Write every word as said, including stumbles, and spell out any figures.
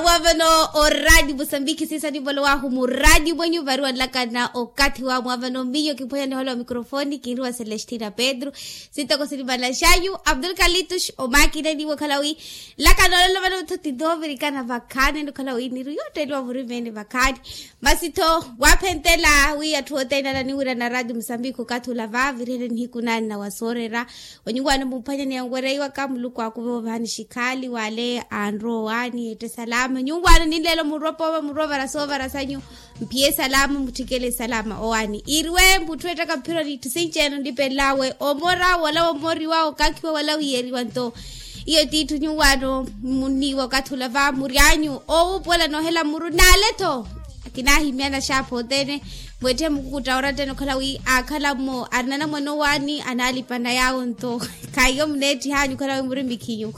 Mwaavano oradio musambiki siisa nivolowahu muradio mwenyu variwanlakana okathi wa mwaavano miyo kiphwanya nihola wa mikrofoni kinriwa celestina pedro. Sitoko sinimalaxanyu abdul kalitus omaakina niwo khala wi lakana olelo vano mutho titovirikana vakhaani nukhala wi niru yotteliwa vurimeene vakhaani. Masi tho waaphentela wi atthu othene ananiwira na radio musambiki okathi ola vaavirihene nihiku naani na wasoorera. Onyuwaano mumphwanyani yanwereiwaka muluku aakuve ovaani xikhaali wale anrowa owaani ette salama nyuwaano ninleelo murwa poova murwa ovara soovara sanyu. Mphiye salama mutthikele salama owaani iriwe mutthu ettaka mphironi itthu sinci-ene onlipelelawe omora wala womoriwa okankhiwa wala wiyeriwa nto. Iyo tiitthu nyuwaano munniiwa okathi ola va muryanyu owuupuwela noohela muru naale-tho. Kinaahimyana xaapha othene mwetthe mukukuttaworattene okhala wi aakhala mmo arina anamwane owaani anaalipana yaawo nto. Khaiyo muneettihanyu okhala wi muri mikhinyu.